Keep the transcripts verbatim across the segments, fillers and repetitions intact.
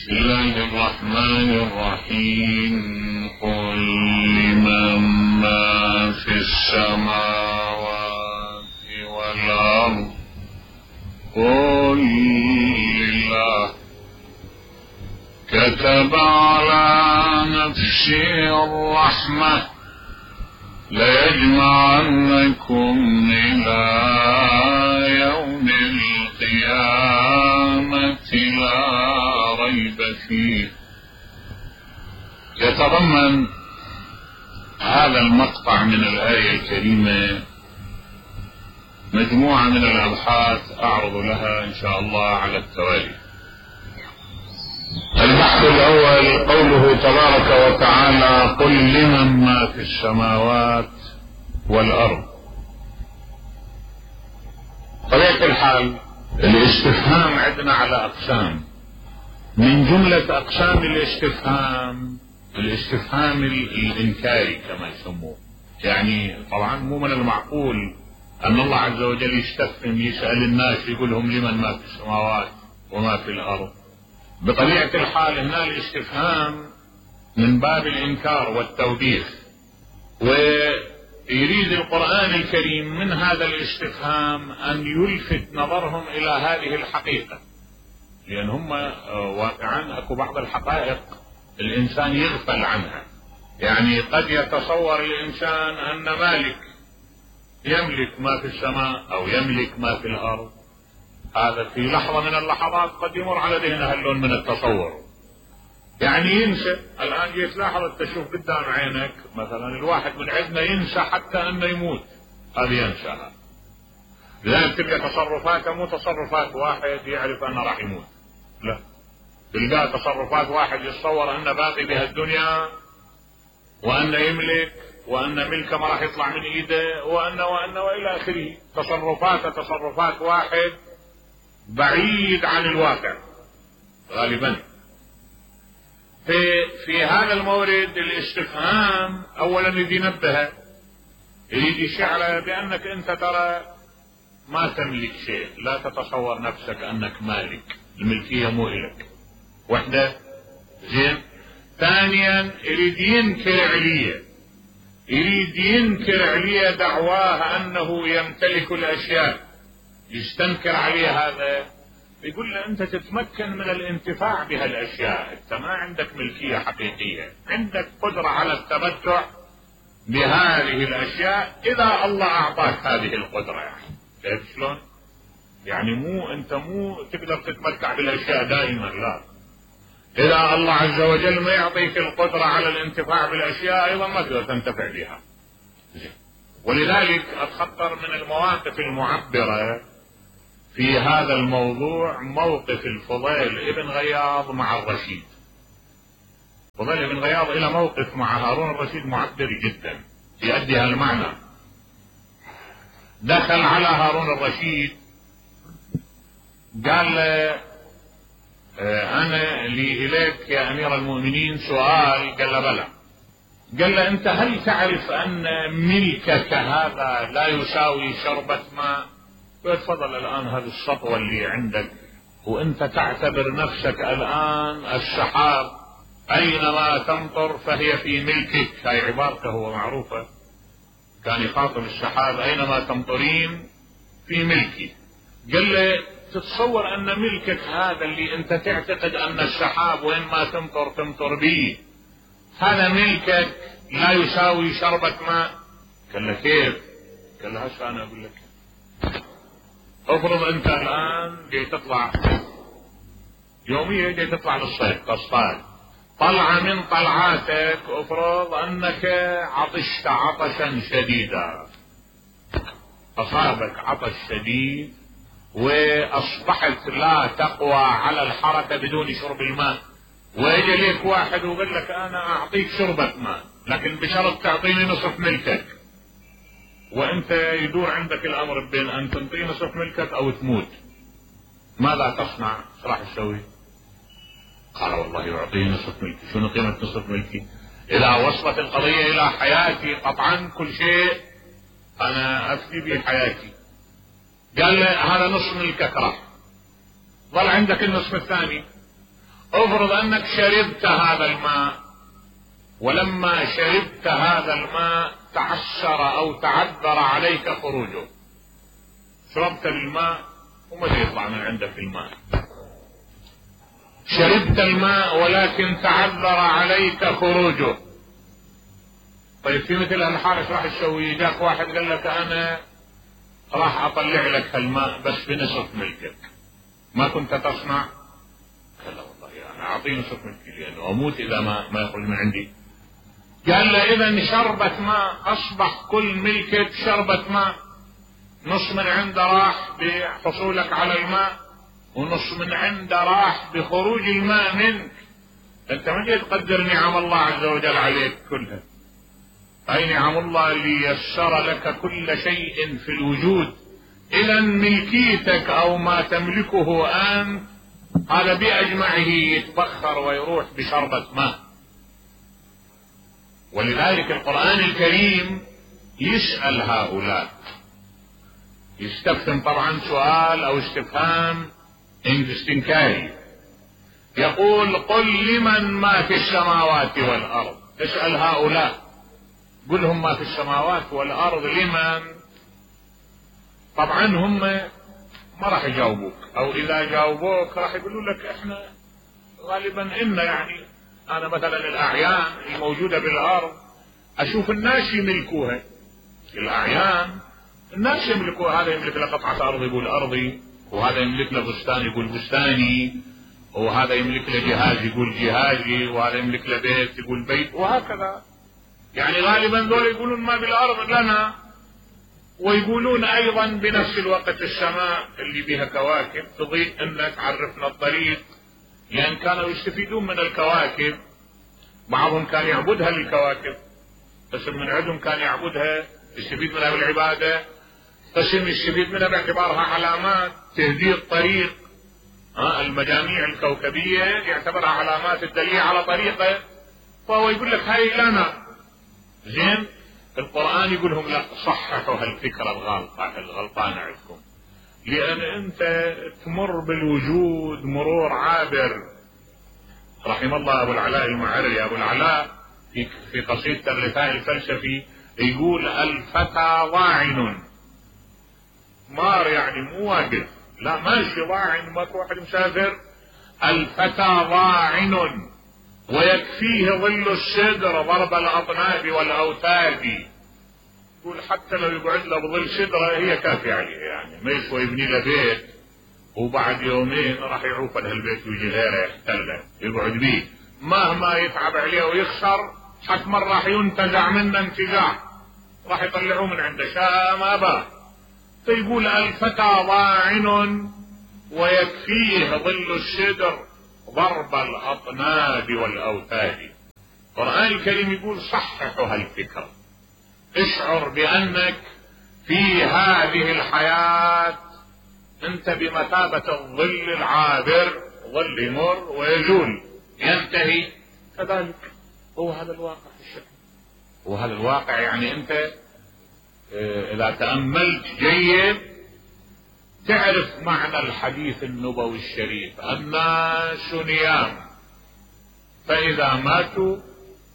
بسم الله الرحمن الرحيم. قل لمن ما في السماوات والأرض قل لله كتب على نفسه الرحمة ليجمعنكم إلى يوم القيامة لا ريب فيه. يتضمن هذا المقطع من الآية الكريمة مجموعة من الأبحاث أعرض لها إن شاء الله على التوالي. البحث الأول قوله تبارك وتعالى قل لمن ما في السماوات والأرض. طبيعة الحال الاستفهام عندنا على أقسام، من جملة أقسام الاستفهام الاستفهام الإنكاري كما يسموه. يعني طبعا مو من المعقول أن الله عز وجل يستفهم يسأل الناس يقول لهم لمن ما في السماوات وما في الأرض. بطبيعة الحال هنا الاستفهام من باب الإنكار والتوبيخ، ويريد القرآن الكريم من هذا الاستفهام أن يلفت نظرهم إلى هذه الحقيقة، لأن هم واقعا أكو بعض الحقائق الإنسان يغفل عنها. يعني قد يتصور الإنسان أن مالك يملك ما في السماء أو يملك ما في الأرض، هذا في لحظة من اللحظات قد يمر على ذهنه هاللون من التصور. يعني ينسى. الآن جيت لاحظ تشوف قدام عينك مثلا الواحد من عندنا ينسى حتى أنه يموت، هذا ينسى. لذلك تلقى تصرفاته مو تصرفات واحد يعرف أنه راح يموت، لا، تلقى تصرفات واحد يتصور أنه باقي بهالدنيا وأنه يملك وأن ملكه ما راح يطلع من إيده وأن وأن وإلى آخره. تصرفاته تصرفات واحد بعيد عن الواقع غالبا. في في هذا المورد الاستفهام اولا يريد ينبه، يريد يشعر بانك انت ترى ما تملك شيء، لا تتصور نفسك انك مالك، الملكيه مو الك. وحده زين. ثانيا يريد ينكر عليه، يريد ينكر عليه دعواه انه يمتلك الاشياء، يستنكر عليه هذا، يقول له انت تتمكن من الانتفاع بهالاشياء، انت ما عندك ملكية حقيقية، عندك قدرة على التمتع بهذه الاشياء اذا الله اعطاك هذه القدرة. يعني شايف شلون؟ يعني مو انت مو تقدر تتمتع بالاشياء دائما، لا، اذا الله عز وجل ما يعطيك القدرة على الانتفاع بالاشياء ايضا ما تقدر تنتفع بها. ولذلك اتخطر من المواقف المعبرة في هذا الموضوع موقف الفضيل ابن غياض مع الرشيد. فضيل ابن غياض الى موقف مع هارون الرشيد معبر جدا يؤدي هالمعنى. دخل على هارون الرشيد قال له انا لي اليك يا امير المؤمنين سؤال. قال له بلى. قال له انت هل تعرف ان ملكك هذا لا يساوي شربة ماء؟ تفضل الآن هذه السطوة اللي عندك وانت تعتبر نفسك الآن السحاب أينما تمطر فهي في ملكك. هاي عبارته هو معروفة، كان يخاطب السحاب أينما تمطرين في ملكي. قال له تتصور أن ملكك هذا اللي انت تعتقد أن السحاب وين ما تمطر تمطر به، هذا ملكك لا يساوي شربة ماء؟ قال له كيف؟ قال له هسه أنا أقول لك. افرض انت الان جاي تطلع يوميا، جاي تطلع للصيد تصطاد، طلعة من طلعاتك افرض انك عطشت عطشا شديدا، اصابك عطش شديد واصبحت لا تقوى على الحركة بدون شرب الماء، ويجي ليك واحد ويقول لك انا اعطيك شربة ماء لكن بشرط تعطيني نصف ملكك، وانت يدور عندك الامر بين ان تنطي نصف ملكك او تموت، ماذا تصنع؟ ايش راح تسوي؟ قال والله يعطيني نصف ملكي. شنو قيمة نصف ملكي؟ اذا وصلت القضية الى حياتي قطعا كل شيء انا افدي به حياتي. قال له هذا نصف ملكك راح، ظل عندك النصف الثاني. افرض انك شربت هذا الماء، ولما شربت هذا الماء تعسر او تعذر عليك خروجه. شربت الماء وما يطلع من عندك الماء، شربت الماء ولكن تعذر عليك خروجه. طيب في مثل هالحال ايش راح تسوي؟ جاك واحد قال لك انا راح اطلع لك الماء بس بنصف ملكك، ما كنت تصنع؟ قال لا والله انا اعطيه نصف ملكي لانه اموت اذا ما ما يخرج من عندي. قال له اذا شربة ماء، اصبح كل ملكك شربة ماء، نص من عنده راح بحصولك على الماء ونص من عنده راح بخروج الماء منك. انت ما جاي تقدر نعم الله عز وجل عليك كلها. اي نعم الله اللي يسر لك كل شيء في الوجود. اذا ملكيتك او ما تملكه انت هذا باجمعه يتبخر ويروح بشربة ماء. ولذلك القرآن الكريم يسأل هؤلاء، يستفهم طبعا سؤال او استفهام استنكاري، يقول قل لمن ما في السماوات والارض. اسأل هؤلاء قل لهم ما في السماوات والارض لمن. طبعا هم ما راح يجاوبوك، او اذا جاوبوك راح يقولوا لك احنا غالبا ان يعني انا مثلا الاعيان الموجودة بالارض اشوف الناس يملكوها. الاعيان الناس يملكوها، هذا يملك له قطعة ارض يقول ارضي، وهذا يملك له بستان يقول بستاني، وهذا يملك له جهاز يقول جهازي، وهذا يملك له بيت يقول بيت، وهكذا. يعني غالبا ذول يقولون ما بالارض لنا، ويقولون ايضا بنفس الوقت السماء اللي بها كواكب تضيء انك عرفنا الطريق، لان كانوا يستفيدون من الكواكب. بعضهم كان يعبدها للكواكب، قسم من عندهم كان يعبدها يستفيد منها بالعبادة، قسم يستفيد منها باعتبارها علامات تهدي الطريق. ها المجاميع الكوكبية يعتبرها علامات الدليل على طريقه، فهو يقول لك هاي لنا. زين القرآن يقول لهم لا، صححوا هالفكرة الغلطة الغلطانة عندكم، لأن أنت تمر بالوجود مرور عابر. رحم الله أبو العلاء المعري، أبو العلاء في في قصيدة الرثاء الفلسفي يقول الفتى ضاعن. مار يعني مو واقف، لا ماشي ضاعن، ماكو واحد مسافر. الفتى ضاعن ويكفيه ظل السدر ضرب الأطناب والأوتاد. يقول حتى لو يقعد له بظل سدرة هي كافية عليه، يعني ما يسوى يبني له بيت وبعد يومين راح يعوف له البيت ويجي غيره يحتله يقعد بيه، مهما يتعب عليه ويخسر حتما راح ينتزع منه انتزاع، راح يطلعوه من عنده شاء ما باه. فيقول الفتى ضاعن ويكفيه ظل السدر ضرب الأطناب والأوتاد. القرآن الكريم يقول صححوا هالفكرة، اشعر بأنك في هذه الحياة انت بمثابة الظل العابر، ظل يمر ويزول ينتهي. كذلك هو هذا الواقع الشكل، وهذا الواقع يعني انت اذا تأملت جيد تعرف معنى الحديث النبوي الشريف الناس نيام فإذا ماتوا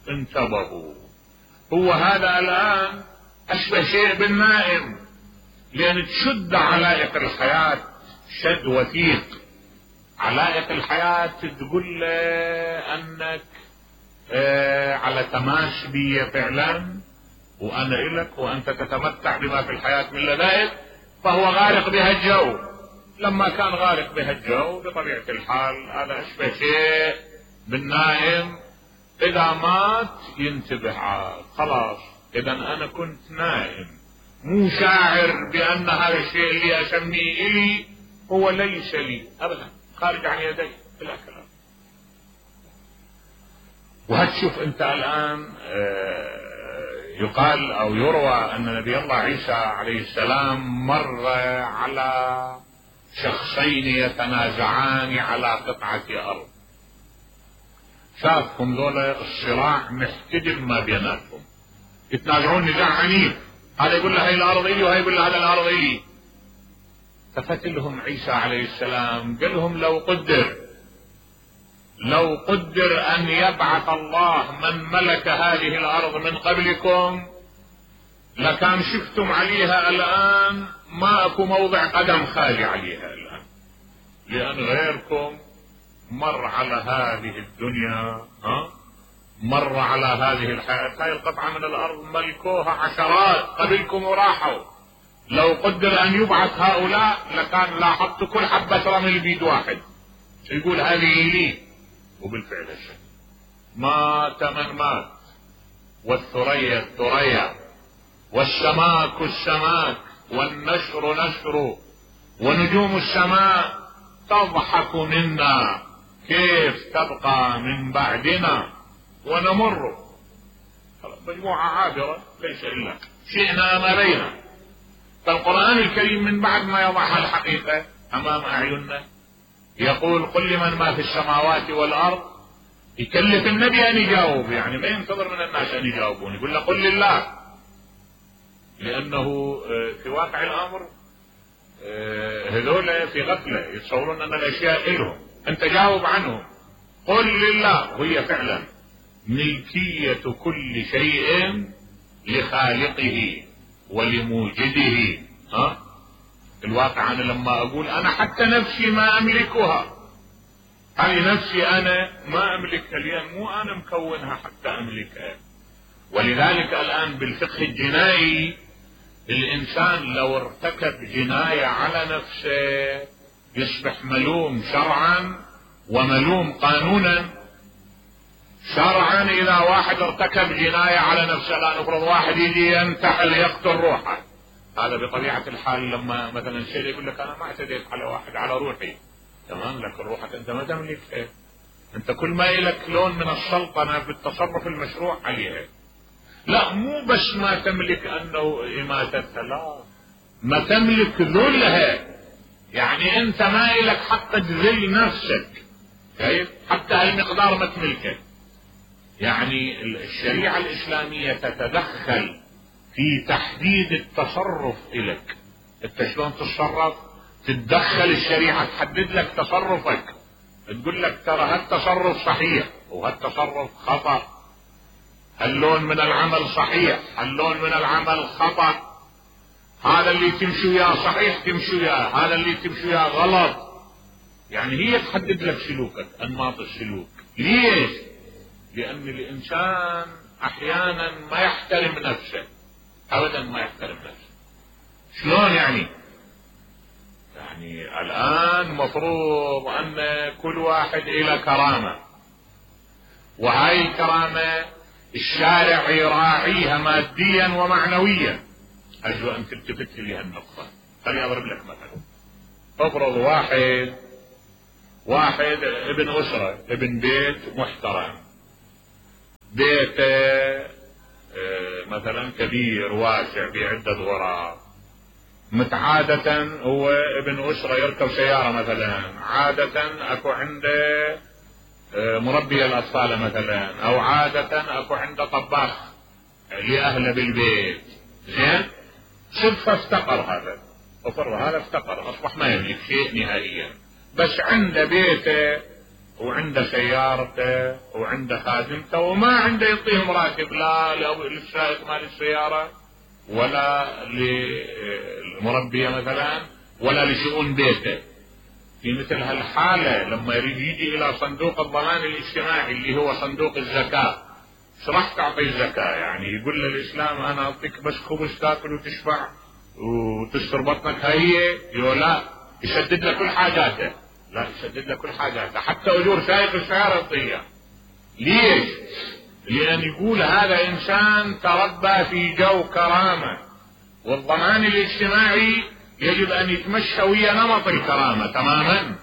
انتبهوا. هو هذا الآن أشبه شيء بالنائم، لأن تشد علائق الحياة شد وثيق. علائق الحياة تقول له أنك آه على تماس بي فعلا، وأنا إلك وأنت تتمتع بما في الحياة من لذائذ، فهو غارق بها الجو. لما كان غارق بها الجو بطبيعة الحال هذا أشبه شيء بالنائم، إذا مات ينتبه عاد خلاص. إذا أنا كنت نائم مو شاعر بأن هذا الشيء اللي أسميه إلي هو ليس لي أبدا، خارج عن يدي بلا كلام. وهتشوف أنت الآن يقال أو يروى أن نبي الله عيسى عليه السلام مر على شخصين يتنازعان على قطعة أرض، شافهم ذولا الصراع محتدم ما بيناتهم، يتنازعون نزاع عنيف، هذا يقول له هاي الأرض إلي وهي يقول له هذا الأرض إلي. ففتلهم عيسى عليه السلام قال لهم لو قدر لو قدر ان يبعث الله من ملك هذه الارض من قبلكم لكان شفتم عليها الان ما اكو موضع قدم خالي عليها الان، لان غيركم مر على هذه الدنيا، ها مر على هذه الحياة. هاي القطعة من الارض ملكوها عشرات قبلكم وراحوا. لو قدر ان يبعث هؤلاء لكان لاحظت كل حبة رمل بيد واحد يقول هذه لي، وبالفعل الشيء مات من مات، والثريا الثريا، والسماك السماك، والنشر نشر، ونجوم السماء تضحك منا كيف تبقى من بعدنا ونمر. مجموعة عابرة ليس إلا شئنا مرينا. فالقرآن الكريم من بعد ما يضعها الحقيقة أمام أعيننا يقول قل لمن ما في السماوات والأرض، يكلف النبي أن يجاوب، يعني ما ينتظر من الناس أن يجاوبون، يقول له قل لله، لأنه في واقع الأمر هذول في غفلة يتصورون أن الأشياء إلهم، أنت جاوب عنهم. قل لله، وهي فعلا ملكية كل شيء لخالقه ولموجده. ها الواقع أنا لما أقول أنا حتى نفسي ما أملكها، هاي نفسي أنا ما أملكها لأن مو أنا مكونها حتى أملكها. ولذلك الآن بالفقه الجنائي الإنسان لو ارتكب جناية على نفسه يصبح ملوم شرعا وملوم قانونا. شرعا إذا واحد ارتكب جناية على نفسه، لا نفرض واحد يجي ينتحل يقتل روحه، هذا بطبيعة الحال لما مثلا شيء يقول لك أنا ما اعتديت على واحد على روحي، تمام، لكن روحك أنت ما تملكها، أنت كل ما إلك لون من السلطنة بالتصرف المشروع عليها. لا مو بس ما تملك أنه إماتتها، لا ما تملك ذلها، يعني أنت ما إلك حق تذل نفسك، كيف حتى هالمقدار ما تملكه. يعني الشريعة الإسلامية تتدخل في تحديد التصرف إلك، انت شلون تتصرف، تتدخل الشريعة تحدد لك تصرفك، تقول لك ترى هالتصرف صحيح وهالتصرف خطأ، هاللون من العمل صحيح هاللون من العمل خطأ، هذا اللي تمشي وياه صحيح تمشي وياه، هذا اللي تمشي وياه غلط. يعني هي تحدد لك سلوكك، انماط السلوك. ليش؟ لأن الإنسان أحيانا ما يحترم نفسه، أبدا ما يحترم نفسه. شلون يعني؟ يعني الآن مفروض أن كل واحد إلى كرامة، وهاي الكرامة الشارع يراعيها ماديا ومعنويا. أرجو أن تلتفت لي هالنقطة. خليني أضرب لك مثلا. افرض واحد واحد ابن أسرة، ابن بيت محترم، بيته مثلا كبير واسع بعدة غرف، متعادة هو ابن أسرة يركب سيارة مثلا، عادة أكو عنده مربي الأطفال مثلا، أو عادة أكو عنده طباخ لأهله بالبيت، زين؟ صدفة افتقر هذا، افرض هذا افتقر أصبح ما يملك شيء نهائيا، بس عنده بيته وعنده سيارته وعنده خادمته وما عنده يعطيهم راتب، لا للسائق مال السيارة ولا للمربية مثلا ولا لشؤون بيته. في مثل هالحالة لما يريد يجي إلى صندوق الضمان الاجتماعي اللي هو صندوق الزكاة، ايش راح تعطي الزكاة؟ يعني يقول له الإسلام أنا أعطيك بس خبز تاكل وتشبع وتستر بطنك، هي يقول لا، يسدد له كل حاجاته، لا يسدد له كل حاجاته، حتى أجور سائق السيارة يعطيها. ليش؟ لأن يقول هذا إنسان تربى في جو كرامة، والضمان الاجتماعي يجب أن يتمشى ويا نمط الكرامة تماما.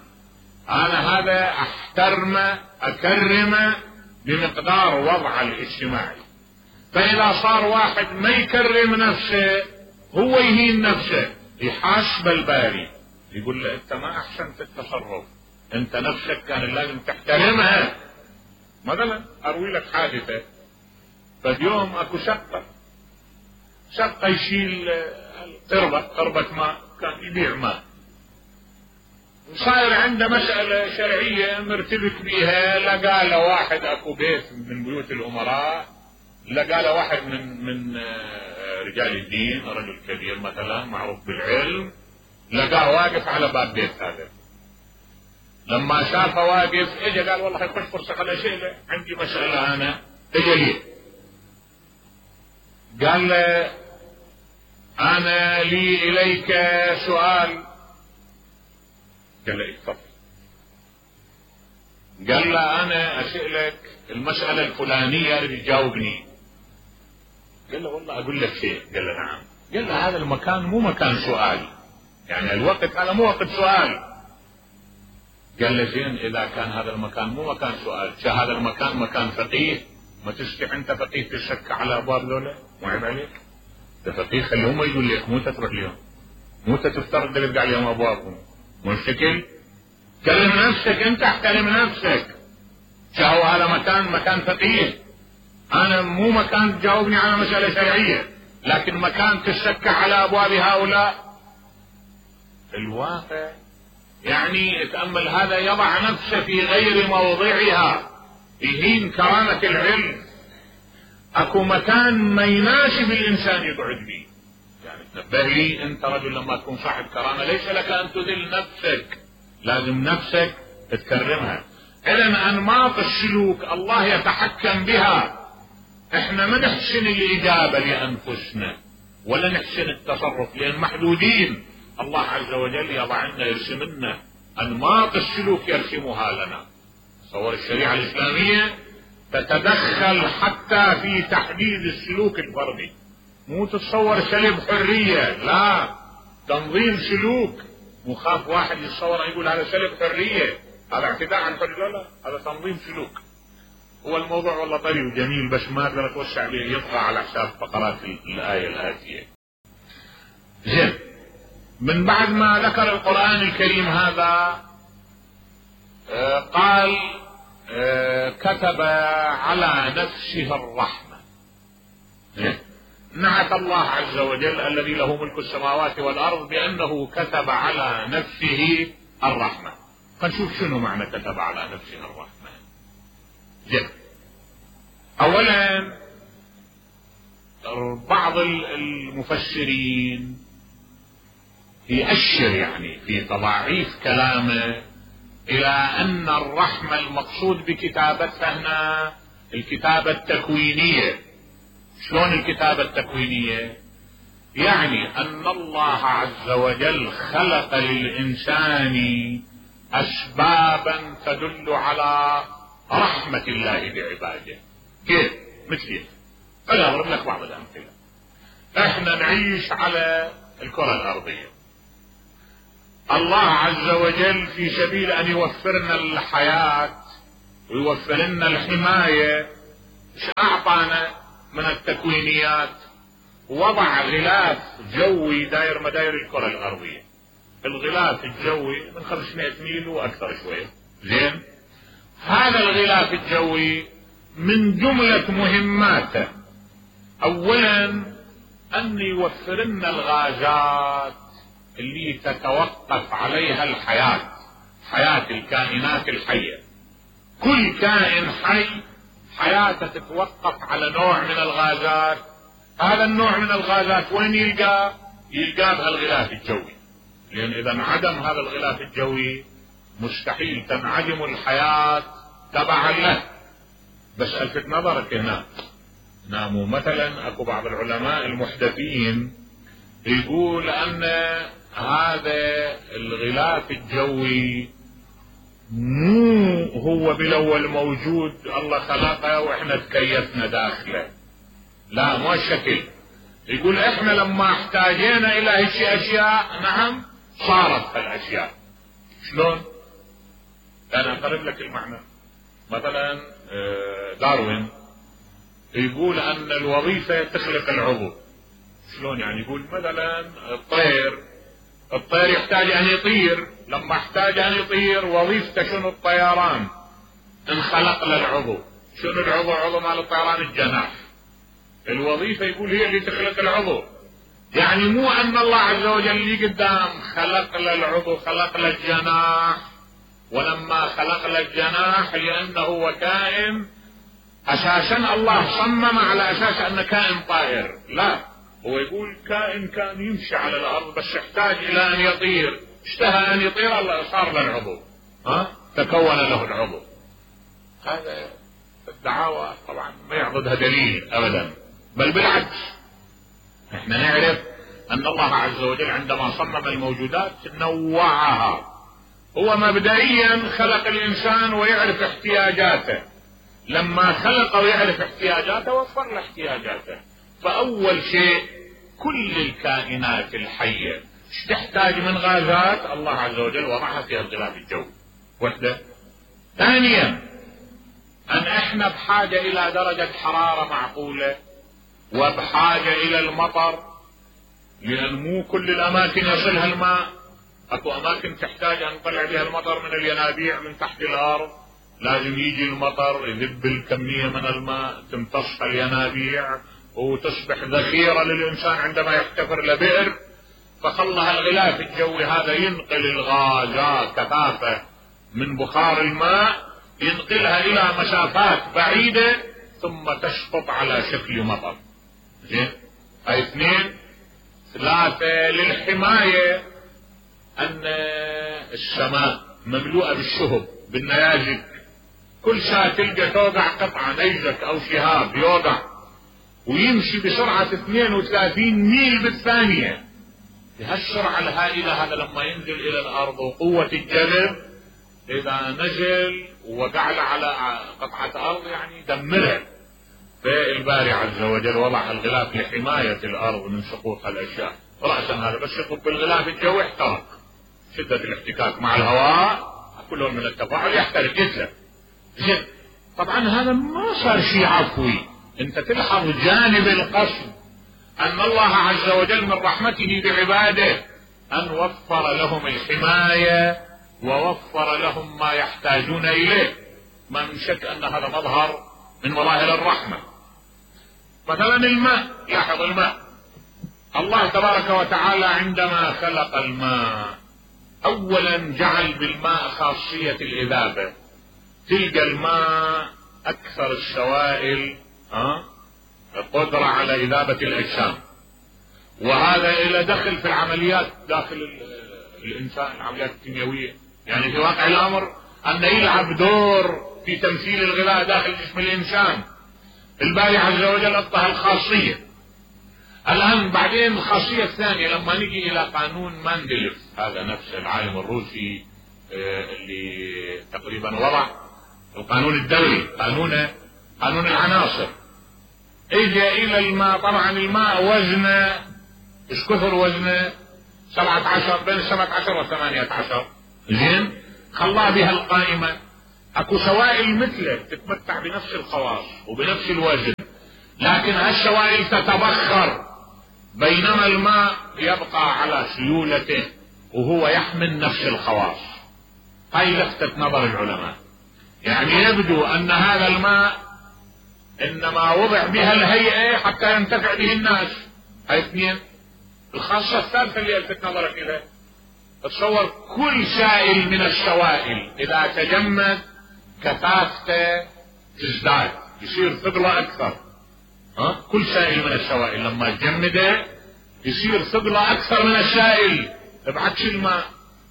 أنا هذا أحترمه أكرمه بمقدار وضعه الاجتماعي. فإذا صار واحد ما يكرم نفسه هو يهين نفسه، يحاسب الباري يقول له أنت ما أحسنت التصرف، أنت نفسك كان لازم تحترمها. مثلا أروي لك حادثة، فاليوم أكو شقة شقة يشيل قربة قربة ماء، كان يبيع ماء، وصاير عنده مسألة شرعية مرتبك بيها، لقى له واحد اكو بيت من بيوت الامراء، لقى له واحد من من رجال الدين، رجل كبير مثلا معروف بالعلم، لقاه واقف على باب بيت هذا. لما شافه واقف اجى قال والله يخش فرصة خليني اسأله، عندي مسألة انا. اجى لي قال له انا لي اليك سؤال. قال له اتفضل. قال له انا اسألك المسألة الفلانية اللي تجاوبني. قال له والله اقول لك شيء. قال له نعم. قال له هذا المكان مو مكان سؤال، يعني الوقت هذا مو وقت سؤال. قال له زين اذا كان هذا المكان مو مكان سؤال، هذا المكان مكان فقيه، ما تستطيع انت فقيه تشك على ابواب ذولا؟ مو عيب عليك؟ انت فقيه خليهم يجوا لك، مو تترك اليوم، مو تفترض تلقى عليهم ابوابهم، مو الشكل؟ كلم نفسك انت، احترم نفسك. شهو هذا مكان مكان فقيه، انا مو مكان تجاوبني على مسألة شرعية، لكن مكان تشك على ابواب هؤلاء. الواقع يعني تأمل هذا يضع نفسه في غير موضعها، يهين كرامة العلم. اكو مكان ما يناسب الانسان يقعد به. يعني تنبه لي انت رجل لما تكون صاحب كرامة ليس لك ان تذل نفسك، لازم نفسك تكرمها. اذا انماط السلوك الله يتحكم بها، احنا ما نحسن الاجابة لانفسنا ولا نحسن التصرف لان محدودين. الله عز وجل يضع لنا يرسم لنا انماط السلوك يرسمها لنا. تصور الشريعة الاسلامية تتدخل حتى في تحديد السلوك الفردي، مو تتصور سلب حرية، لا، تنظيم سلوك. مخاف واحد يتصور يقول هذا سلب حرية، هذا اعتداء عن الحرية، لا، هذا تنظيم سلوك. هو الموضوع والله طري وجميل بس ما اقدر اتوسع به، يطغى على حساب فقرات الآية الآتية. زين، من بعد ما ذكر القرآن الكريم هذا آه قال آه كتب على نفسه الرحمة. نعت الله عز وجل الذي له ملك السماوات والأرض بأنه كتب على نفسه الرحمة. فنشوف شنو معنى كتب على نفسه الرحمة. جد. أولا بعض المفسرين يأشر يعني في تضاعيف كلامه إلى أن الرحمة المقصود بكتابتها هنا الكتابة التكوينية. شلون الكتابة التكوينية؟ يعني أن الله عز وجل خلق للإنسان أسبابا تدل على رحمة الله بعباده. كيف؟ مثل أنا أضرب لك بعض الأمثلة. احنا نعيش على الكرة الأرضية، الله عز وجل في سبيل أن يوفرنا الحياة ويوفر لنا الحماية ايش أعطانا من التكوينيات؟ وضع غلاف جوي داير مداير الكرة الأرضية. الغلاف الجوي من خمسمائة ميل وأكثر شوية. زين، هذا الغلاف الجوي من جملة مهماته أولا أن يوفر لنا الغازات اللي تتوقف عليها الحياة، حياة الكائنات الحية. كل كائن حي حياته تتوقف على نوع من الغازات. هذا النوع من الغازات وين يلقى؟ يلقى بهالغلاف الجوي، لأن إذا انعدم هذا الغلاف الجوي مستحيل تنعدم الحياة تبعا له. بس ألفت نظرك هنا، ناموا مثلا أكو بعض العلماء المحدثين يقول أن هذا الغلاف الجوي مو هو بالاول موجود، الله خلقه واحنا تكيفنا داخله، لا مو الشكل. يقول احنا لما احتاجينا الى هيك اشياء نعم صارت هالاشياء. شلون؟ انا اقرب لك المعنى. مثلا داروين يقول ان الوظيفة تخلق العضو. شلون يعني؟ يقول مثلا الطير الطير يحتاج ان يطير، لما احتاج ان يطير وظيفته شنو؟ الطيران. انخلق له العضو. شنو العضو؟ عضو مال الطيران الجناح. الوظيفة يقول هي اللي تخلق العضو. يعني مو ان الله عز وجل اللي قدام خلق له العضو، خلق له الجناح، ولما خلق له الجناح لانه هو كائن اساسا الله صمم على اساس انه كائن طائر، لا، هو يقول كائن كان يمشي على الارض بس يحتاج الى ان يطير، اشتهى ان يطير الله صار له العضو، ها تكون له العضو. هذا الدعاوى طبعا ما يعضدها دليل ابدا، بل بالعكس احنا نعرف ان الله عز وجل عندما صمم الموجودات نوعها. هو مبدئيا خلق الانسان ويعرف احتياجاته، لما خلق ويعرف احتياجاته وفر له احتياجاته. فاول شيء كل الكائنات الحية ايش تحتاج من غازات؟ الله عز وجل وضعها في الغلاف الجوي وحده. ثانيا ان احنا بحاجة الى درجة حرارة معقولة، وبحاجة الى المطر، لان مو كل الاماكن يصلها الماء، اكو اماكن تحتاج ان نطلع بها المطر من الينابيع من تحت الارض، لازم يجي المطر يذب الكمية من الماء تمتص الينابيع وتصبح ذخيرة للانسان عندما يحتفر لبئر. فخلها الغلاف الجوي هذا ينقل الغازات كثافة من بخار الماء، ينقلها الى مسافات بعيدة ثم تسقط على شكل مطر. زين، هاي اثنين. ثلاثة للحماية، ان السماء مملوءة بالشهب بالنيازك، كل ساعة تلقى توقع قطعة نيزك او شهاب يوقع ويمشي بسرعة اثنين وثلاثين ميل بالثانية. بهالسرعة الهائلة هذا لما ينزل الى الارض وقوة الجذب اذا نزل ووقع على قطعة ارض يعني دمرها. فالباري عز وجل وضع الغلاف لحماية الارض من سقوط الاشياء. رأسا هذا بس يطب بالغلاف الجوي احترق، شدة الاحتكاك مع الهواء كلهم من التفاعل يحترق يتلف. زين، طبعا هذا ما صار شيء عفوي، انت تلحظ جانب القصد ان الله عز وجل من رحمته بعباده ان وفر لهم الحماية ووفر لهم ما يحتاجون اليه. ما من شك ان هذا مظهر من مظاهر الرحمة. مثلا الماء، لاحظ الماء، الله تبارك وتعالى عندما خلق الماء اولا جعل بالماء خاصية الاذابة، تلقى الماء اكثر السوائل أه؟ قدرة على اذابة الاجسام، وهذا الى دخل في العمليات داخل الانسان، العمليات الكيميائية. يعني في واقع الامر ان يلعب دور في تمثيل الغذاء داخل جسم الانسان. الباري عز وجل اعطاها الخاصية. الان بعدين الخاصية الثانية لما نجي الى قانون ماندليف، هذا نفس العالم الروسي اللي تقريبا وضع القانون الدولي، قانون قانون العناصر، اجى الى الماء. طبعا الماء وزنه ايش كثر وزنه؟ سبعة عشر، بين السبعة عشر والثمانية عشر. زين، خلاه بها القائمة. اكو سوائل مثله تتمتع بنفس الخواص وبنفس الوزن، لكن هالسوائل تتبخر، بينما الماء يبقى على سيولته وهو يحمل نفس الخواص. هاي لفتت نظر العلماء. يعني يبدو ان هذا الماء انما وضع بها الهيئة حتى ينتفع به الناس. هاي اثنين. الخاصة الثالثة اللي الفت نظرك اليها، تصور كل سائل من السوائل اذا تجمد كثافته تزداد، يصير ثقله اكثر. ها؟ كل سائل من السوائل لما تجمده يصير ثقله اكثر من السائل، بعكس الماء.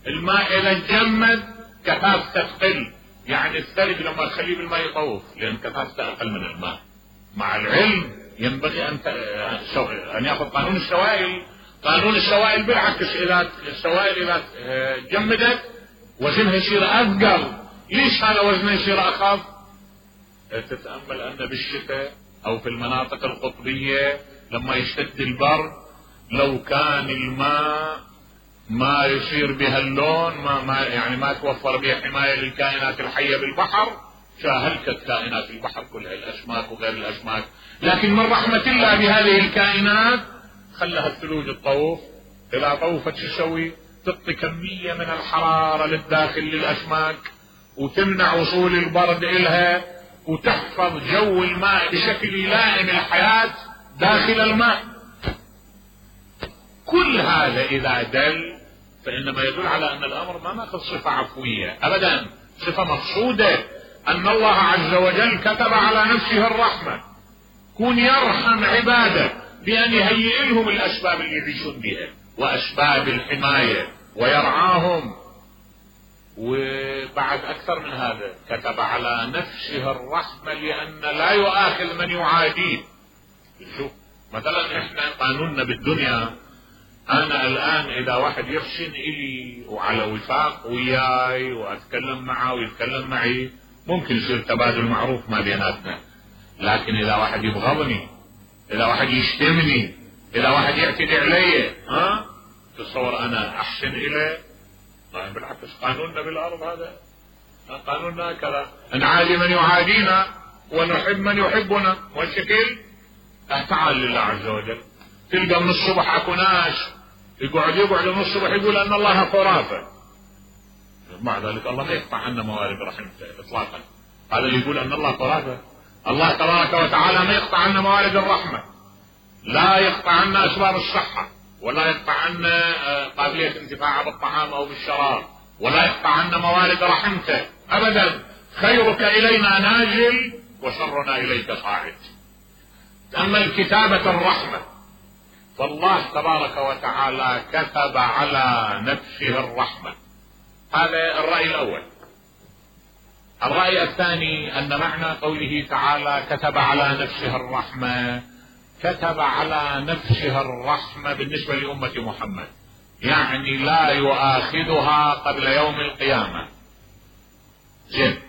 الماء اذا تجمد كثافته تقل، يعني الثلج لما تخليه بالماء يطوف لان كثافته اقل من الماء. مع العلم ينبغي ان ان ياخذ قانون السوائل. قانون السوائل بالعكس، اذا السوائل اذا جمدت وزنها يصير اثقل. ليش هذا وزنه يصير اخف؟ تتامل ان بالشتاء او في المناطق القطبيه لما يشتد البرد، لو كان الماء ما يصير بها اللون، ما, ما يعني ما توفر بها حمايه للكائنات الحيه بالبحر، شاهلكت كائنات البحر كلها، الاسماك وغير الاسماك. لكن من رحمه الله بهذه الكائنات خلها الثلوج تطوف. اذا طوفت شو تسوي؟ تعطي كميه من الحراره للداخل للاسماك، وتمنع وصول البرد إلها، وتحفظ جو الماء بشكل يلائم الحياة داخل الماء. كل هذا إذا دل فإنما يدل على أن الأمر ما ناخذ صفة عفوية أبدا، صفة مقصودة، أن الله عز وجل كتب على نفسه الرحمة، كون يرحم عباده بأن يهيئ لهم الأسباب اللي يعيشون بها وأسباب الحماية ويرعاهم. وبعد أكثر من هذا كتب على نفسه الرحمة لأن لا يؤاخذ من يعاديه. شوف مثلا احنا قانوننا بالدنيا، انا الان اذا واحد يحسن الي وعلى وفاق وياي واتكلم معه ويتكلم معي ممكن يصير تبادل معروف ما بيناتنا، لكن اذا واحد يبغضني، اذا واحد يشتمني، اذا واحد يعتدي علي، ها تصور انا احسن اليه؟ طيب بالعكس قانوننا بالارض هذا، قانوننا كذا، نعادي من يعادينا ونحب من يحبنا، والشكل تعال لله عز وجل. تلقى من الصبح اكو ناس يقعد يقعد من الصبح يقول ان الله خرافه، مع ذلك الله ما يقطع عنا موارد رحمته اطلاقا. هذا اللي يقول ان الله خرافه، الله تبارك وتعالى ما يقطع عنا موارد الرحمه، لا يقطع عنا اسباب الصحه، ولا يقطع عنا قابليه الانتفاع بالطعام او بالشراب، ولا يقطع عنا موارد رحمته ابدا. خيرك الينا نازل وشرنا اليك صاعد. اما الكتابه الرحمه فالله تبارك وتعالى كتب على نفسه الرحمة، هذا الرأي الأول. الرأي الثاني أن معنى قوله تعالى كتب على نفسه الرحمة، كتب على نفسه الرحمة بالنسبة لأمة محمد، يعني لا يؤاخذها قبل يوم القيامة. زين،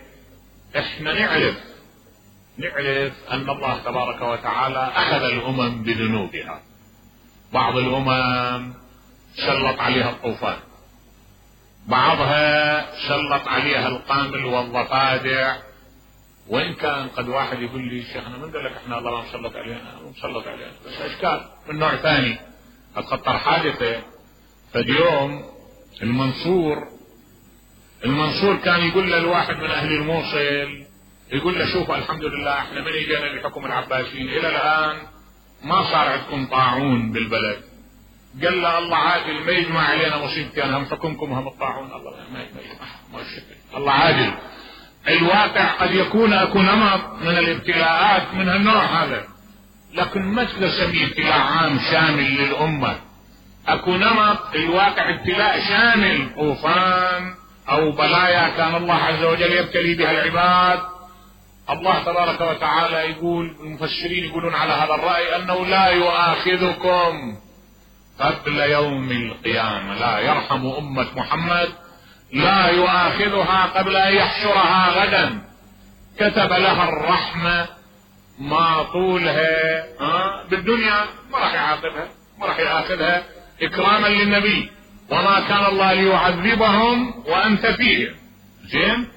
احنا نعرف نعرف أن الله تبارك وتعالى أخذ الأمم بذنوبها، بعض الأمم سلط عليها الطوفان، بعضها سلط عليها القامل والضفادع، وإن كان قد واحد يقول لي شيخنا من قال لك احنا الله ما مسلط علينا؟ مسلط علينا بس أشكال من نوع ثاني. أتخطر حادثة فاليوم المنصور المنصور كان يقول له الواحد من أهل الموصل، يقول له شوفوا الحمد لله احنا من اجينا لحكم العباسيين إلى الآن ما صار عندكم طاعون بالبلد. قال له الله عادل ما يجمع علينا مصيبتين، هم حكمكم هم الطاعون. الله ما يجمع ما الشكل، الله عادل. الواقع قد يكون اكو نمط من الابتلاءات من هالنوع هذا، لكن ما تقدر تسميه ابتلاء عام شامل للامه. اكو نمط الواقع ابتلاء شامل، طوفان او بلايا كان الله عز وجل يبتلي بها العباد. الله تبارك وتعالى يقول، المفسرين يقولون على هذا الرأي انه لا يؤاخذكم قبل يوم القيامة، لا يرحم امة محمد، لا يؤاخذها قبل ان يحشرها غدا، كتب لها الرحمة ما طولها آه بالدنيا، ما راح يعاقبها، ما راح يأخذها اكراما للنبي، وما كان الله ليعذبهم وانت فيهم. زين،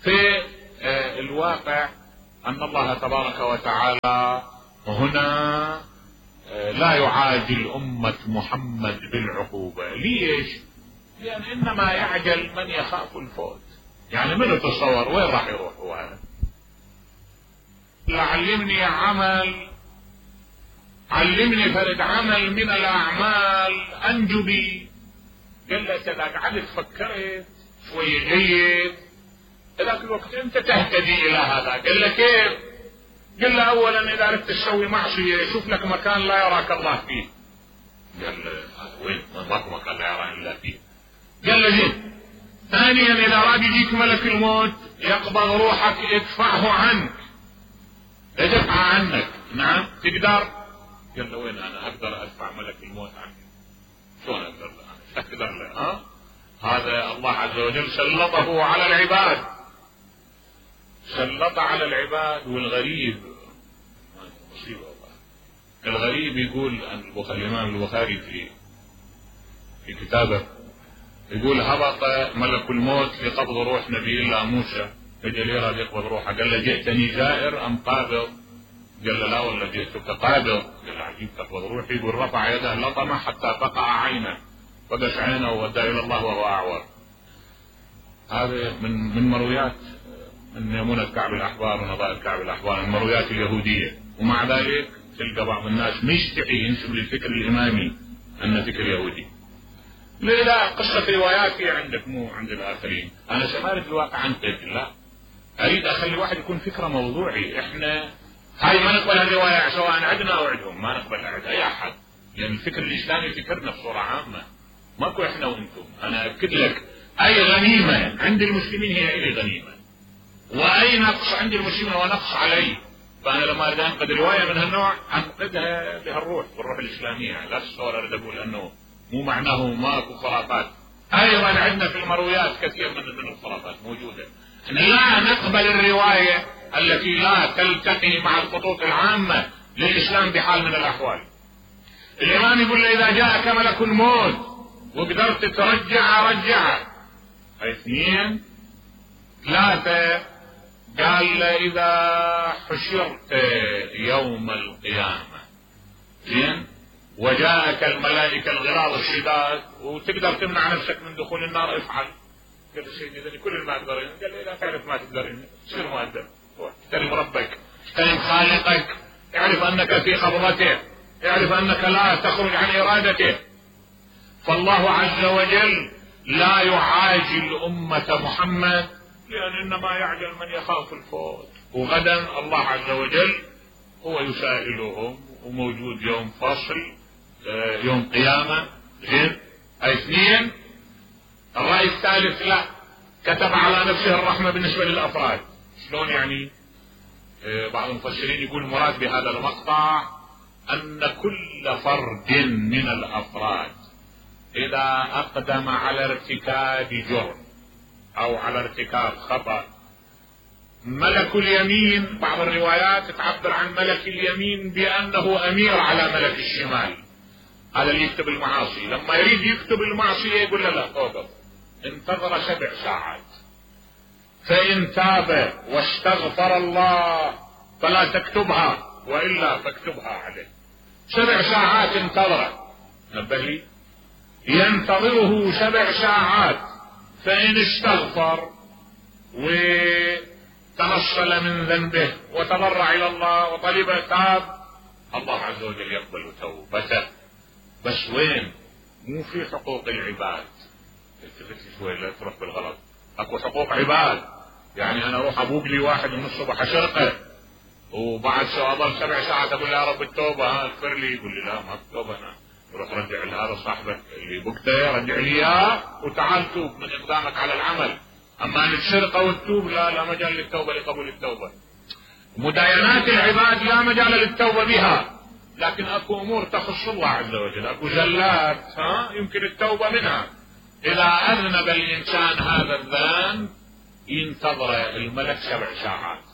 في آه الواقع ان الله تبارك وتعالى هنا آه لا يعاجل امة محمد بالعقوبة. ليش؟ لان انما يعجل من يخاف الفوت. يعني من يتصور وين راح يروح هو هذا؟ علمني عمل، علمني فرد عمل من الاعمال انجو بي. قال له اذا قعدت فكرت شوية جيد ذاك الوقت انت تهتدي الى هذا. قال له كيف؟ قال له اولا اذا اردت تسوي معصية شوف لك مكان لا يراك الله فيه. قال له وين؟ ماكو مكان لا يراك الا فيه. قال له زين. ثانيا اذا راد يجيك ملك الموت يقبض روحك ادفعه عنك، ادفع عنك. نعم تقدر؟ قال له وين انا اقدر ادفع ملك الموت عنك؟ شلون اقدر انا؟ اقدر له؟ ها؟ هذا الله عز وجل سلطه على العباد، سلط على العباد. والغريب مصيبة والله، الغريب يقول الامام البخاري في في كتابه يقول هبط ملك الموت لقبض روح نبي الله موسى، اجى يراد يقبض روحه، قال له جئتني زائر ام قابض؟ قال له لا والله جئتك قابض. قال له عجيب تقبض روحي؟ يقول رفع يده لطمه حتى فقع عينه، فقش عينه وودى الى الله وهو اعور. هذا من من مرويات من ميمونة كعب الاحبار ونظائر كعب الاحبار، المرويات اليهودية. ومع ذلك تلقى بعض الناس مشتعي ينسب للفكر الامامي أن فكر يهودي. لا قصة رواياتي عندك مو عند الآخرين. أنا سأمارس الواقع أنقذ، لا أريد أخلي الواحد يكون فكرة موضوعي. إحنا هاي ما نقبل الرواية سواء عندنا أو عندهم، ما نقبل عند أي أحد، لأن يعني الفكر الإسلامي فكرنا بصورة عامة، ماكو إحنا وأنتم. أنا أكد لك أي غنيمة عند المسلمين هي إلي غنيمة، وأي نقص عند المسلمين هو نقص علي. فأنا لما أريد أنقذ رواية من هالنوع أنقذها بهالروح، بالروح الإسلامية. لا تصور أريد أقول أنه مو معناه ماكو خرافات. أيضا عندنا في المرويات كثير من من الخرافات موجودة. لا نقبل الرواية التي لا تلتقي مع الخطوط العامة للإسلام بحال من الأحوال. الإمام يقول إذا جاءك ملك الموت وقدرت ترجع رجع. اثنين ثلاثة قال إذا حشرت يوم القيامة زين وجاءك الملائكة الغلاظ الشداد وتقدر تمنع نفسك من دخول النار افعل. قال سيدي إذا كل ما تقدرين. قال لي لا تعرف ما تقدرين تصير مؤدب، احترم ربك، احترم خالقك، اعرف أنك في قبضته، اعرف أنك لا تخرج عن إرادته. فالله عز وجل لا يعاجل أمة محمد، لأن إنما يعجل من يخاف الفوت. وغدا الله عز وجل هو يسائلهم، وموجود يوم فصل يوم قيامة. زين اثنين الرأي الثالث لا، كتب على نفسه الرحمة بالنسبة للأفراد. شلون يعني؟ بعض المفسرين يقول المراد بهذا المقطع أن كل فرد من الأفراد إذا أقدم على ارتكاب جرم أو على ارتكاب خطأ، ملك اليمين، بعض الروايات تعبر عن ملك اليمين بأنه أمير على ملك الشمال، هذا اللي يكتب المعاصي. لما يريد يكتب المعصية يقول له لا اوقف، انتظر سبع ساعات، فإن تاب واستغفر الله فلا تكتبها وإلا فاكتبها عليه. سبع ساعات انتظر، نبه لي، ينتظره سبع ساعات، فإن استغفر وتنصل من ذنبه وتضرع إلى الله وطلب تاب، الله عز وجل يقبل توبته. بس وين؟ مو في حقوق العباد. التفت شوي لا تروح بالغلط. اكو حقوق عباد، يعني انا اروح ابوق لي واحد من الصبح اشرقه وبعد شو اضل سبع ساعات اقول له يا رب التوبه ها اغفر لي، يقول لي لا ما التوبه انا روح رجع لهذا صاحبك اللي بقته رجع لي اياه وتعال توب من اقدامك على العمل. اما ان السرقه والتوب لا لا مجال للتوبه لقبول التوبه. مداينات العباد لا مجال للتوبه بها، لكن اكو امور تخص الله عز وجل، اكو زلات ها يمكن التوبه منها. اذا اذنب الانسان هذا الذنب ينتظر الملك سبع ساعات،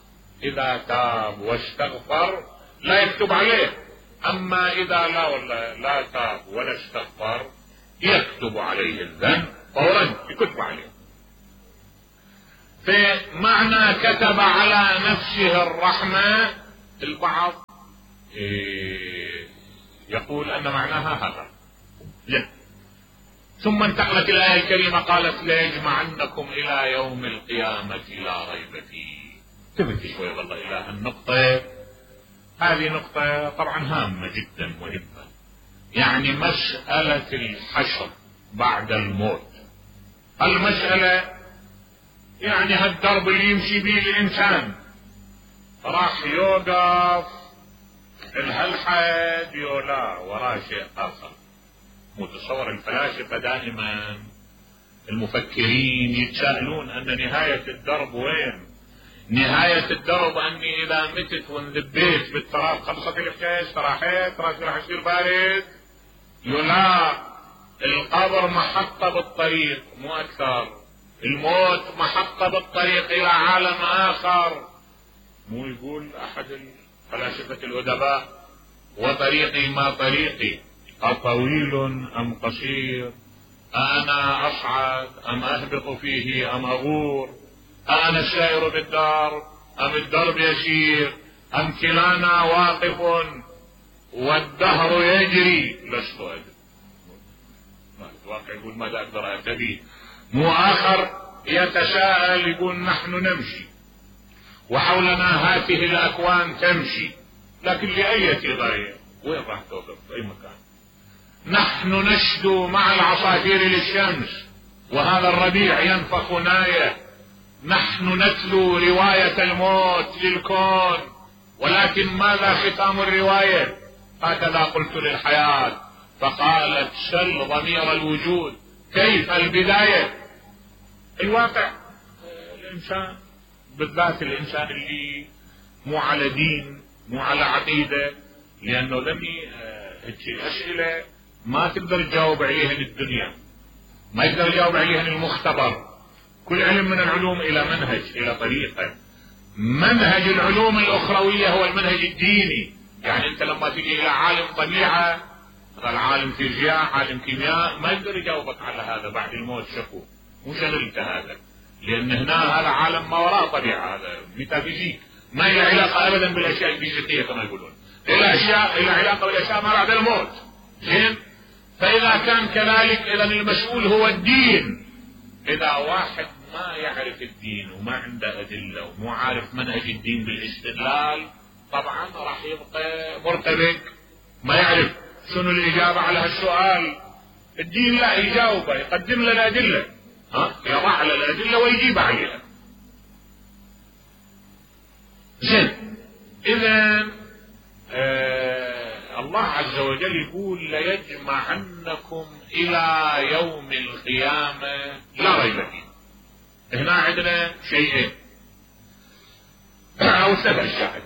اذا تاب واستغفر لا يكتب عليه. اما اذا لا ولا لا تاب ولا استغفر يكتب عليه الذنب فورا، يكتب عليه. فمعنى كتب على نفسه الرحمة البعض يقول ان معناها هذا. لا. ثم انتقلت الآية الكريمة قالت ليجمعنكم الى يوم القيامة لا ريب فيه. تبكي شوي والله الى النقطة هذه، نقطة طبعا هامة جدا مهمة، يعني مسألة الحشر بعد الموت. المسألة يعني هالدرب اللي يمشي به الانسان راح يوقف الهالحد يولا وراه شيء اخر. متصور الفلاسفة دائما المفكرين يتساءلون ان نهاية الدرب وين؟ نهاية الدرب اني اذا متت وانذبيت بالتراب خلصت الحكاية، استراحيت راسي راح يصير بارد. يولا القبر محطة بالطريق مو اكثر، الموت محطة بالطريق الى عالم اخر. مو يقول احد فلاسفة الأدباء وطريقي ما طريقي أطويل أم قصير، أنا أصعد أم أهبط فيه أم أغور، أنا السائر بالدار أم الدرب يسير، أم كلانا واقف والدهر يجري لست أدري. الواقع يقول ماذا أقدر أهتدي. مو آخر يتساءل يقول نحن نمشي وحولنا هذه الأكوان تمشي، لكن لأية غاية؟ وين راح توقف؟ في أي مكان. نحن نشدو مع العصافير للشمس وهذا الربيع ينفخ نايه، نحن نتلو رواية الموت للكون، ولكن ماذا ختام الرواية؟ هكذا قلت للحياة فقالت سل ضمير الوجود كيف البداية. الواقع الإنسان بالذات الإنسان اللي مو على دين مو على عقيدة، لأنه ذني أسئلة ما تقدر تجاوب عليها الدنيا، ما يقدر يجاوب عليها المختبر. كل علم من العلوم إلى منهج إلى طريقة. منهج العلوم الأخروية هو المنهج الديني. يعني أنت لما تجي إلى عالم طبيعة مثلا عالم فيزياء عالم كيمياء ما يقدر يجاوبك على هذا بعد الموت شكو مو شغلت هذا، لأن هنا هذا عالم ما وراء طبيعة، هذا ميتافيزيك ما له علاقة أبدا بالأشياء الفيزيائية كما يقولون، له أشياء له علاقة بالأشياء ما بعد الموت. زين، فإذا كان كذلك إذا المسؤول هو الدين. إذا واحد ما يعرف الدين وما عنده أدلة ومو عارف منهج الدين بالاستدلال طبعا راح يبقى مرتبك ما يعرف شنو الإجابة على هالسؤال. الدين لا يجاوبه يقدم لنا أدلة، ها يضع على الأدلة ويجيب عليها. زين، إذا آه الله عز وجل يقول ليجمعنكم إلى يوم القيامة لا ريب فيه. هنا عندنا شيئين أو سبع أشياء.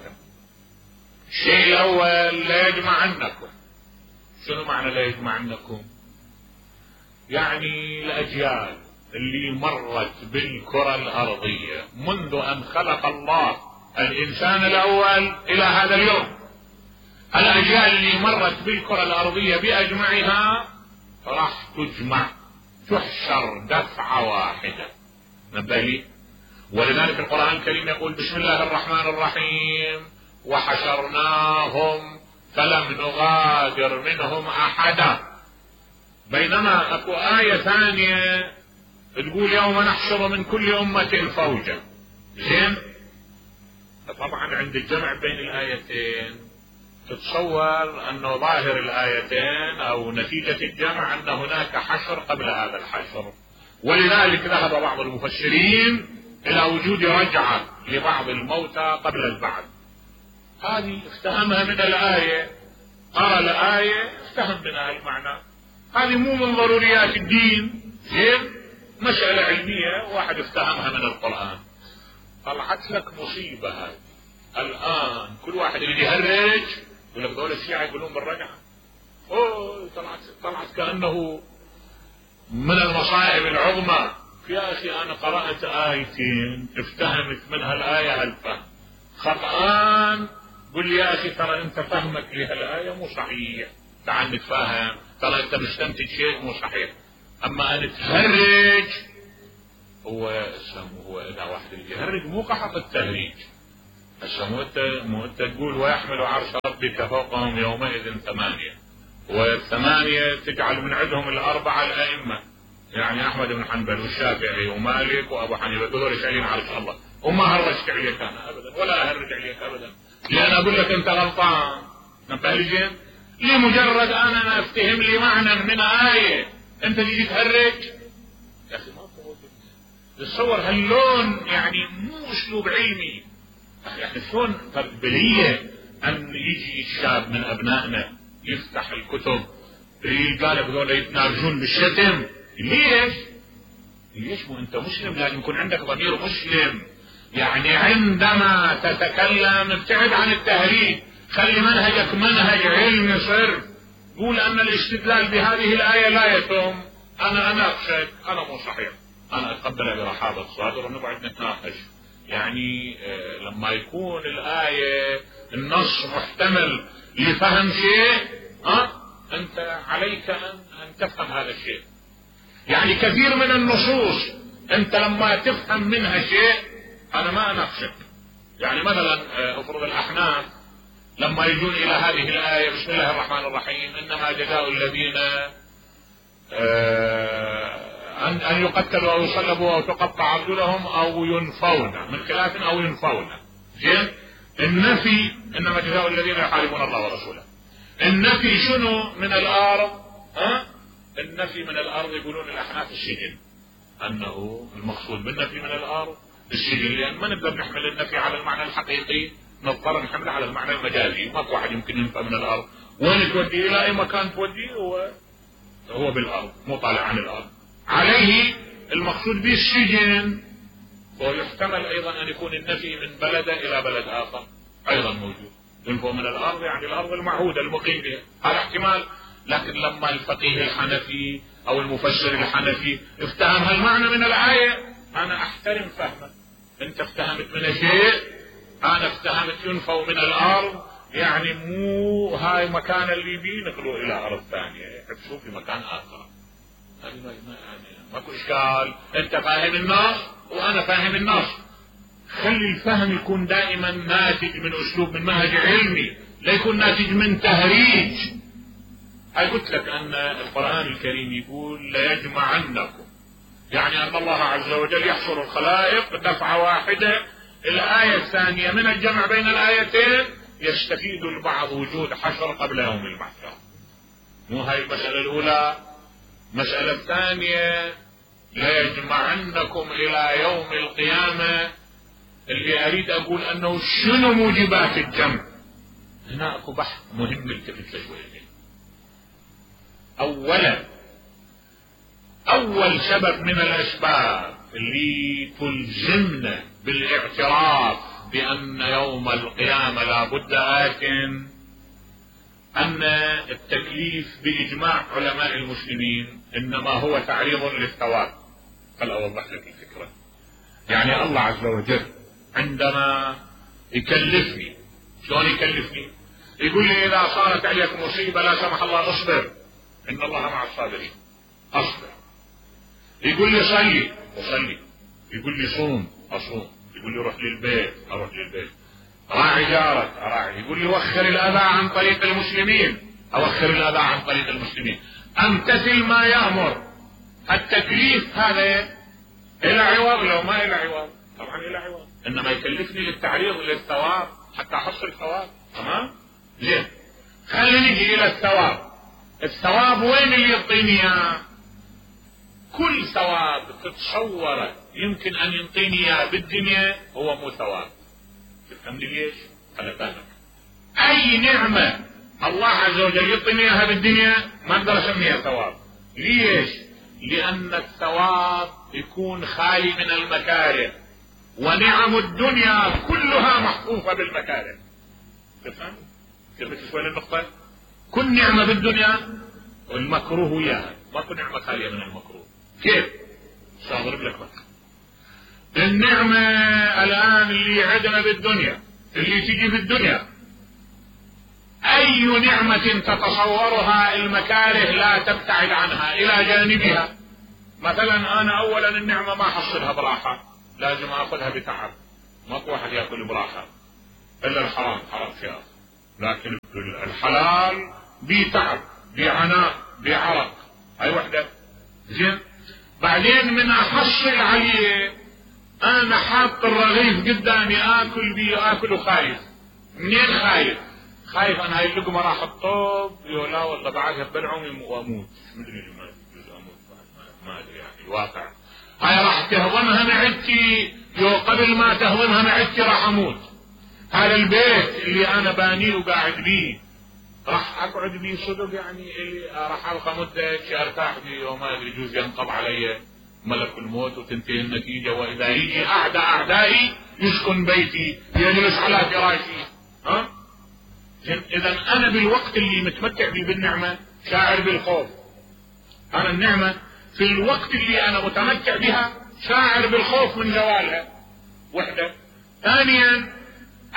الشيء الأول ليجمعنكم. شنو معنى ليجمعنكم؟ يعني الأجيال اللي مرت بالكرة الأرضية منذ أن خلق الله الإنسان الأول إلى هذا اليوم، الأجيال اللي مرت بالكرة الأرضية بأجمعها راح تجمع تحشر دفعة واحدة. نبهي، ولذلك القرآن الكريم يقول بسم الله الرحمن الرحيم وحشرناهم فلم نغادر منهم أحدا. بينما اكو آية ثانية تقول يوم نحشر من كل أمة فوجا. زين، طبعا عند الجمع بين الآيتين تتصور أنه ظاهر الآيتين أو نتيجة الجمع أن هناك حشر قبل هذا الحشر، ولذلك ذهب بعض المفسرين إلى وجود رجعة لبعض الموتى قبل البعث. هذه افتهمها من الآية، قرأ الآية افتهم منها المعنى. هذه مو من ضروريات الدين، زين، مسألة علمية واحد افتهمها من القرآن. طلعت لك مصيبة هذه الآن. كل واحد اللي يهرج يقول لك دول الشيعة يقولون بالرجعة. اوه طلعت طلعت كأنه من المصائب العظمى. يا أخي أنا قرأت آيتين افتهمت منها الآية الفهم خطأان، قل يا أخي ترى أنت فهمك لهالآية مو صحيح، تعال نتفاهم، ترى أنت مستنتج شيء مو صحيح. أما أن تهرج هو هو إذا واحد اللي يهرج مو قحط التهريج. هسه مو أنت مو أنت تقول ويحمل عرش ربك فوقهم يومئذ ثمانية، والثمانية تجعل من عندهم الأربعة الأئمة، يعني أحمد بن حنبل والشافعي ومالك وأبو حنيفة، دول شايلين عرش الله. وما هرجت عليك أنا أبدا ولا أهرج عليك أبدا، لأن أقول لك أنت غلطان. نبهلجين لمجرد أنا أفتهم لي معنى من آية أنت تجي تهرج. يا أخي ما تتصور هاللون، يعني مو أسلوب علمي. يعني شلون تقبلية أن يجي الشاب من أبنائنا يفتح الكتب يلقى لك ذولا يتناقشون بالشتم؟ ليش؟ ليش؟ مو أنت مسلم لازم يكون عندك ضمير مسلم. يعني عندما تتكلم ابتعد عن التهريج، خلي منهجك منهج علمي صرف. قول أن الاستدلال بهذه الآية لا يتم، أنا أناقشك، أنا مو صحيح، أنا أتقبلها برحابة الصدر ونقعد نتناقش. يعني لما يكون الآية النص محتمل لفهم شيء، ها أنت عليك أن, أن تفهم هذا الشيء. يعني كثير من النصوص أنت لما تفهم منها شيء أنا ما أناقشك. يعني مثلا أفرض الأحناف لما يجون إلى هذه الآية بسم الله الرحمن الرحيم إنما جزاء الذين أن أن يقتلوا أو يصلبوا أو تقطع أرجلهم أو ينفون من خلاف أو ينفون. زين، النفي إنما جزاء الذين يحاربون الله ورسوله. النفي شنو من الأرض؟ ها النفي من الارض يقولون الاحناف السجن، انه المقصود بالنفي من الارض السجن، لان ما نقدر نحمل النفي على المعنى الحقيقي، نضطر نحمله على المعنى المجازي. ماكو واحد يمكن ينفى من الارض، وين توديه؟ الى اي مكان توديه هو هو بالارض، مو طالع عن الارض. عليه المقصود به السجن، ويحتمل ايضا ان يكون النفي من بلد الى بلد اخر ايضا موجود. ينفوا من الارض يعني الارض المعهوده المقيم بها، هذا احتمال. لكن لما الفقيه الحنفي او المفسر الحنفي افتهم هالمعنى من الايه، انا احترم فهمه. انت افتهمت من شيء، انا افتهمت ينفوا من الارض يعني مو هاي مكان اللي بيه نقلوا الى ارض ثانيه، يحبسوه في مكان اخر. هذه ما يعني ماكو اشكال، انت فاهم النص وانا فاهم النص. خلي الفهم يكون دائما ناتج من اسلوب، من منهج علمي، لا يكون ناتج من تهريج. هاي قلت لك ان القرآن الكريم يقول ليجمعنكم، يعني ان الله عز وجل يحصر الخلائق دفعة واحدة. الآية الثانية من الجمع بين الآيتين يستفيد البعض وجود حشر قبل يوم المحشر. مو هاي المسألة الأولى. المسألة الثانية ليجمعنكم إلى يوم القيامة، اللي أريد أقول أنه شنو موجبات الجمع. هنا أكو بحث مهم التفت له شوية. أولا، أول سبب من الأسباب اللي تلزمنا بالاعتراف بأن يوم القيامة لا بد آت، أن التكليف بإجماع علماء المسلمين إنما هو تعريض للثواب. خل أوضح لك الفكرة. يعني الله عز وجل عندما يكلفني، شلون يكلفني؟ يقول لي إذا صارت عليك مصيبة لا سمح الله اصبر، إن الله مع الصابرين، أصبر. يقول لي صلي، أصلي. يقول لي صوم، أصوم. يقول لي روح للبيت، أروح للبيت. راعي جارك، أراعي. يقول لي وخر الأذى عن طريق المسلمين، أوخر الأذى عن طريق المسلمين. أمتثل ما يأمر. التكليف هذا إلى عوض لو ما إلى عوض؟ طبعا إلى عوض، إنما يكلفني للتعريض للثواب حتى أحصل الثواب. تمام؟ زين، خلينا نجي إلى الثواب. الثواب وين اللي يعطيني اياه؟ كل ثواب تتصوره يمكن ان يعطيني اياه بالدنيا هو مو ثواب. تفهمني ليش؟ انا فاهمك. اي نعمه الله عز وجل يعطيني اياها بالدنيا ما اقدر اسميها ثواب. ليش؟ لان الثواب يكون خالي من المكاره، ونعم الدنيا كلها محفوفه بالمكاره. تفهم؟ كيف شوي النقطه؟ كل نعمة بالدنيا والمكروه وياها، ماكو نعمة خالية من المكروه. كيف؟ سأضرب لك بك. النعمة الآن اللي عندنا بالدنيا، اللي تجي في الدنيا، أي نعمة تتصورها المكاره لا تبتعد عنها إلى جانبها. مثلا أنا أولا النعمة ما أحصلها براحة، لازم أخذها بتعب. ماكو واحد يأكل براحة إلا الحرام، حرام فيها. لكن الحلال بتعب، بعناء، بعرق. هاي وحدة. زين، بعدين من احصل عليه انا حاط الرغيف قدامي اكل بيه، اكل وخايف. منين خايف؟ خايف انا هاي اللقمة راح الطوب، يقول لا والله بعدها بلعوم واموت. مدري ما يجوز اموت، ما ادري يعني الواقع. هاي راح تهضمها معدتي، يو قبل ما تهضمها معدتي راح اموت. هذا البيت اللي انا بانيه وقاعد بيه راح اقعد بيه صدق يعني اللي راح ابقى مدة ارتاح بيه وما ادري يجوز ينقض علي ملك الموت وتنتهي النتيجة، واذا يجي اعدى اعدائي يسكن بيتي يجلس على فراشي. ها؟ اذا انا بالوقت اللي متمتع بيه بالنعمة شاعر بالخوف. انا النعمة في الوقت اللي انا متمتع بها شاعر بالخوف من زوالها. وحدة. ثانيا،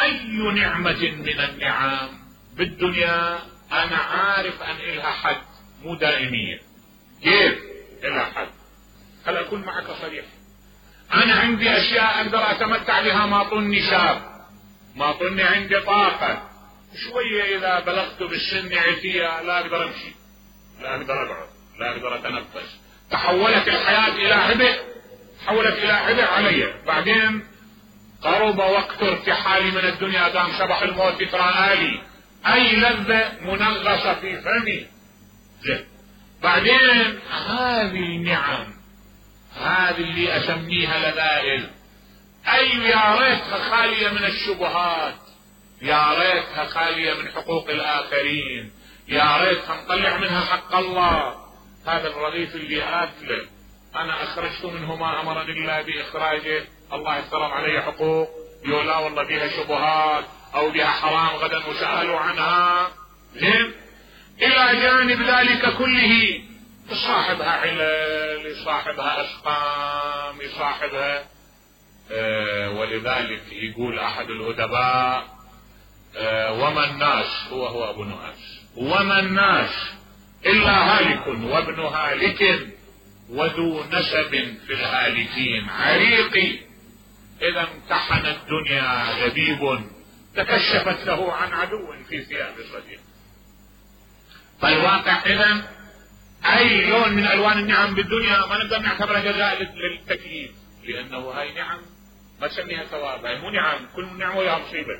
اي نعمة من النعم بالدنيا انا عارف ان الها حد، مو دائمية. كيف الها حد؟ خل اكون معك صريح. انا عندي اشياء اقدر اتمتع بها ما طني شاب، ما طني عندي طاقة. شوية اذا بلغت بالسن عتية لا اقدر امشي، لا اقدر اقعد، لا اقدر اتنفس. تحولت الحياة الى عبء، تحولت الى عبء علي. بعدين قرب وقت ارتحالي من الدنيا، دام شبح الموت يتراءى لي، اي لذة منغصة في فمي. زين، بعدين هذه النعم هذه اللي اسميها لذائذ، اي يا ريتها خالية من الشبهات، يا ريتها خالية من حقوق الاخرين، يا ريتها نطلع منها حق الله. هذا الرغيف اللي اكله انا اخرجت منه ما امرني الله باخراجه، الله افترض علي حقوق، يقول لا والله بها شبهات او بها حرام غدا وسألوا عنها. زين، الى جانب ذلك كله يصاحبها علل، يصاحبها اسقام، يصاحبها آه ولذلك يقول احد الادباء آه وما الناس، هو هو ابو نواس، وما الناس الا هالك وابن هالك وذو نسب في الهالكين عريقي، اذا امتحن الدنيا لبيب تكشفت له عن عدو في ثياب صديق. فالواقع اذا اي لون من الوان النعم بالدنيا ما نقدر نعتبرها جزاء للتكليف، لانه هاي نعم ما تسميها ثواب، هاي مو نعم، كل نعمه وياها مصيبه،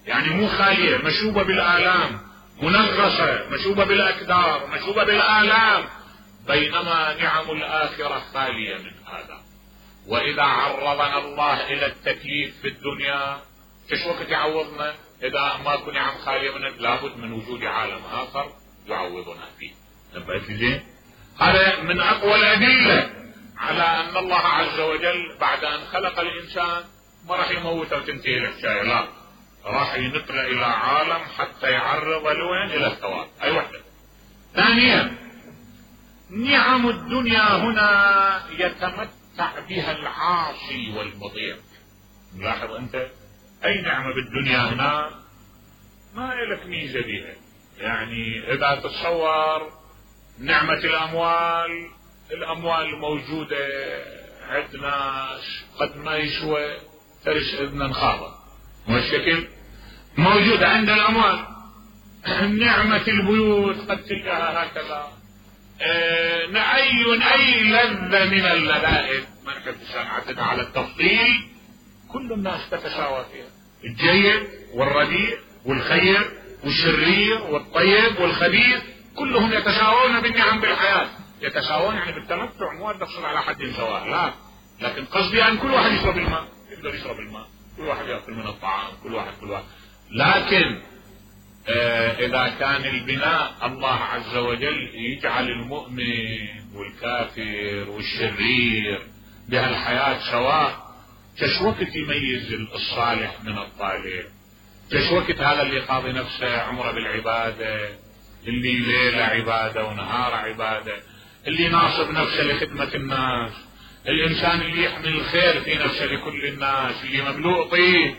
يعني مو خاليه، مشوبه بالالام، منغصه، مشوبه بالاكدار، مشوبه بالالام، بينما نعم الاخره خاليه من هذا. واذا عرضنا الله الى التكليف في الدنيا ايش وقت يعوضنا؟ اذا ماكو نعم خاليه من لابد من وجود عالم اخر يعوضنا فيه. نبهت زين؟ هذا من اقوى الادله على ان الله عز وجل بعد ان خلق الانسان ما راح يموته وتنتهي الحكايه، لا، راح ينقله الى عالم حتى يعرض لوين؟ الى الثواب. اي وحده. ثانيا، نعم الدنيا هنا يتمتع بها العاصي والمطيع. ملاحظ انت اي نعمه بالدنيا هنا ما لك ميزه بها، يعني اذا تتصور نعمه الاموال، الاموال موجوده عند ناس قد ما يسوى ترس اذنا خاضه، والشكل موجود عند الاموال. نعمه البيوت قد تلقاها هكذا. اه اي اي لذه من اللذائذ ما نحب سمعتنا على التفضيل كل الناس تتساوى فيها، الجيد والرديء والخير والشرير والطيب والخبيث كلهم يتساوون بالنعم بالحياة. يتساوون يعني بالتمتع، مو نقصد على حد سواء، لا، لكن قصدي ان كل واحد يشرب الماء، يقدر يشرب الماء، كل واحد ياكل من الطعام، كل واحد كل واحد. لكن آه اذا كان البناء الله عز وجل يجعل المؤمن والكافر والشرير بهالحياة سواء، كش وقت يميز الصالح من الطالح، كش وقت هذا اللي قاضي نفسه عمره بالعبادة، اللي ليلة عبادة ونهار عبادة، اللي ناصب نفسه لخدمة الناس، الانسان اللي يحمل الخير في نفسه لكل الناس، اللي مملوء طيب.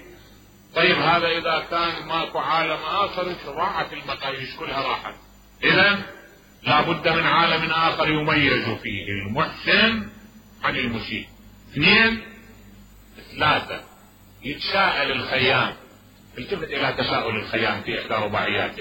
طيب هذا اذا كان ماكو عالم اخر راحت المقاييس كلها راحت. اذا لابد من عالم اخر يميز فيه المحسن عن المسيء. اثنين، ثلاثة، يتساءل الخيام، التفت الى تساؤل الخيام في احدى رباعياته،